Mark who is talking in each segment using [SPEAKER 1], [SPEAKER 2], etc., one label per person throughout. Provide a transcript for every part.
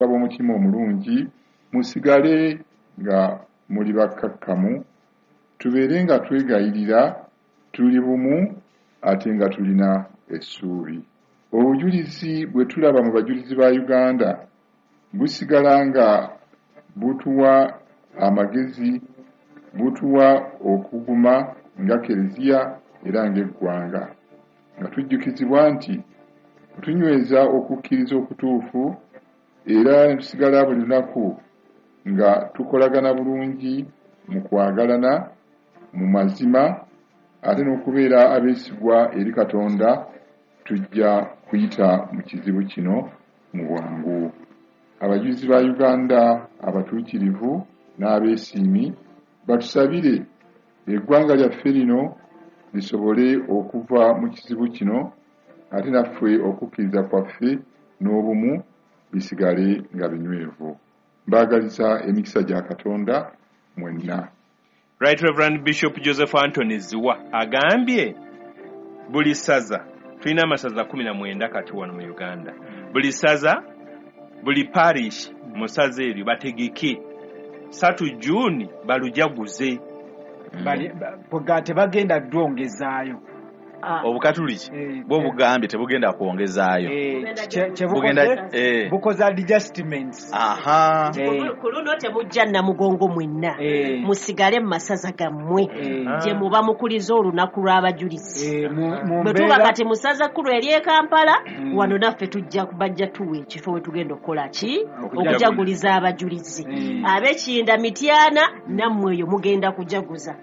[SPEAKER 1] Ab'omutima omulungi, musigale nga muli bakkakkamu, tubeere nga twegayirira, tuli bumu ate nga tulina essuubi. Obujulizi bwe tulaba mu Bajulizi ba Uganda busigala nga butuwa amagezi, butuwa okuguma nga Keleziya era ng'eggwanga, nga tujjukizibwa nti bwe tunyweza okukkiriza okutuufu era ne tusigala buli lunaku nga tukolagana bulungi mu kwagalana, mu mazima ate n'okubeera abeesigwa eri Katonda, tujja kuyita mu kizibu kino mu bwangu. Abajulizi ba Uganda abatuukirivu n'abeesiimi batusabire eggwanga lyaffe lino lisobole okuva mu kizibu kino ate naffe okukkiriza kwaffe n'obumu bisigale nga binywevu. Mbaagaliza emikisa gya Katonda mwenna.
[SPEAKER 2] Right Reverend Bishop Joseph Anthony Zziwa agambye buli ssaza, tulina amasaza 19 kati wano mu Uganda, buli ssaza, buli parish mu ssaza eryo bategeke 3 June balujaguze.
[SPEAKER 3] Tebagenda dwongezaayo.
[SPEAKER 4] Obukatuliki bwo bugambye tebugenda kwongezaayo.
[SPEAKER 3] Bukoze adjustments.
[SPEAKER 5] Ku luno temujja Namugongo mwenna, musigale mu masaza gammwe gye muba mukuliza olunaku lw'abajulizi. Bwe tuba kati mu ssaza kkulu ery'e Kampala, wano naffe tujja bajja tuwa ekifo we tugenda okukola ki? Okujaguliza abajulizi. Ab'Ekinda Mityana nammwe eyo mugenda kujaguza.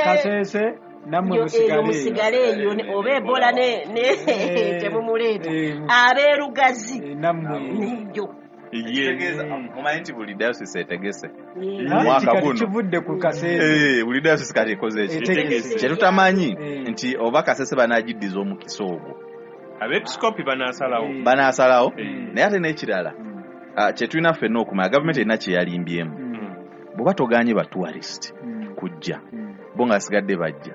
[SPEAKER 3] Kasese
[SPEAKER 5] namwe musigale eyo oba Ebola ne temumuleeta. Ab'erugazi
[SPEAKER 3] nammwe
[SPEAKER 5] neyo.
[SPEAKER 4] Omanyi nti buli diocese etegese omwaka guno
[SPEAKER 3] kivudde ku Kasese.
[SPEAKER 4] Buli diocese kati ekoze eki kye tutamanyi nti oba Kasese banagiddiza omukisa ogwo,
[SPEAKER 2] abeepiskopi
[SPEAKER 4] banaasalawo. Naye ate n'ekirala kye tulina ffenna okumanya, gavumenti erina kye yalimbyemu. Bw'oba toganye ba tourist kujja, bo nga basigadde bajja,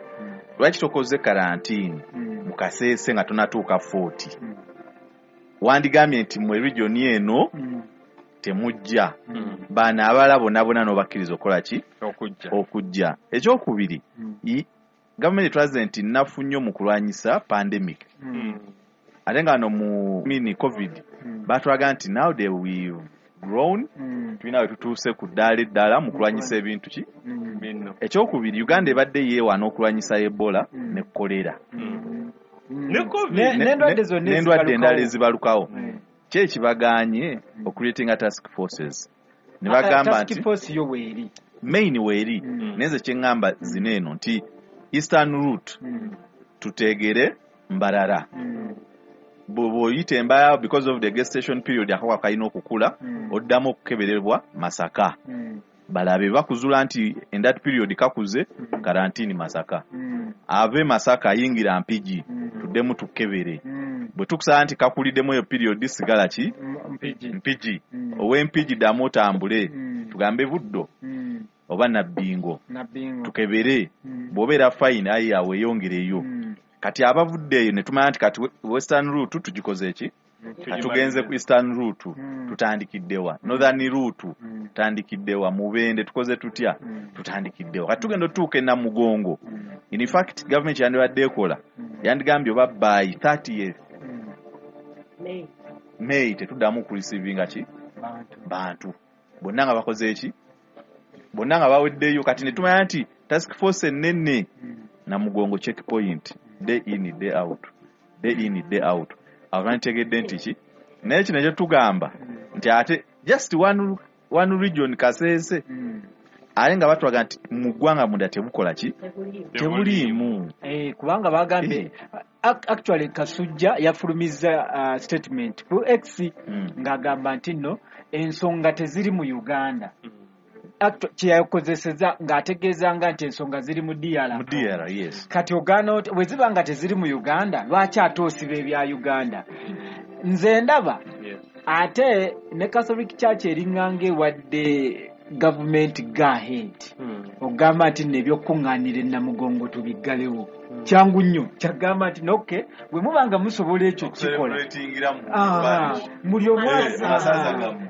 [SPEAKER 4] lwaki tokoze karantiini mu Kasese nga tonatuuka 40? Wandigambye nti mwe region eno temujja, bano abalala bonna bonna n'obakkiriza okukola ki? Okujja. Ekyokubiri, gavumenti etulaze nti nnafu nnyo mu kulwanyisa pandemic, ate nga no mu mini COVID batulaga nti now they we've grown, tulina we tutuuse ku ddaala eddala mu kulwanyisa ebintu ki. Ekyokubiri, Uganda ebadde yeewaana okulwanyisa Ebola ne kolera n'endwadde endala ezibalukawo. Ki ekibagaanye okuleetinga task forces? Ne bagamba nti main weeri, naye nze kye ŋŋamba zino eno nti Eastern route tutegere Mbarara. Bw'oyita Embarara because of the gestation period akawuka kalina okukula, oddamu okukeberebwa Masaka. Balabe bakuzula nti in that period kakuze, karantini Masaka. Ave Masaka ayingira Mpigi, tuddemu tukebere. Bwe tukusaba nti kakuliddemu eyo period sigala ki? Mpigi. Ow'Empigi ddamu otambule, tugambe Buddo oba Nabbingo, tukebere. Bw'obeera fine ayi awo weeyongereyo. Kati abavudde eyo ne tumanya nti kati Western route tugikoze eki? Tugenze ku Eastern route, tutandikiddewa. Northern route tutandikiddewa. Mubende tukoze tutya? Tutandikiddewa. Kati tugenda otuuka e Namugongo. In fact gavumenti yandibadde ekola, yandigambye oba by 30th May tetuddamu kureceivinga ki? Bantu. Bonna nga bakoze eki? Bonna nga baweddeyo. Kati ne tumanya nti task force ennene Namugongo checkpoint, day in day out, day in day out. Awo bantegedde nti ki? Naye kino ekyo tugamba nti ate just one region Kasese, ate nga batulaga nti mu ggwanga munda tebukola ki? Tebuliimu.
[SPEAKER 3] Kubanga bagambye actually Kasujja yafulumizza statement ku X ng'agamba nti nno ensonga teziri mu Uganda. Kyeyakozeseza ng'ategeezanga nti ensonga ziri mu DR.
[SPEAKER 4] Mu DR, yes.
[SPEAKER 3] Kati ogaana bwe ziba nga teziri mu Uganda, lwaki ate osiba ebya Uganda? Nze ndaba ate ne Catholic Church eringanga ewadde Gavumenti go ahead ogamba nti nno ebyokuŋŋaanira e Namugongo tubiggalewo. Kyangu nnyo kyagamba nti noke bwe muba nga musobola ekyo kikola.
[SPEAKER 4] Okucelebratingira mu
[SPEAKER 3] Ah,
[SPEAKER 4] parish.
[SPEAKER 3] buli omu
[SPEAKER 4] Mu masaza gammwe.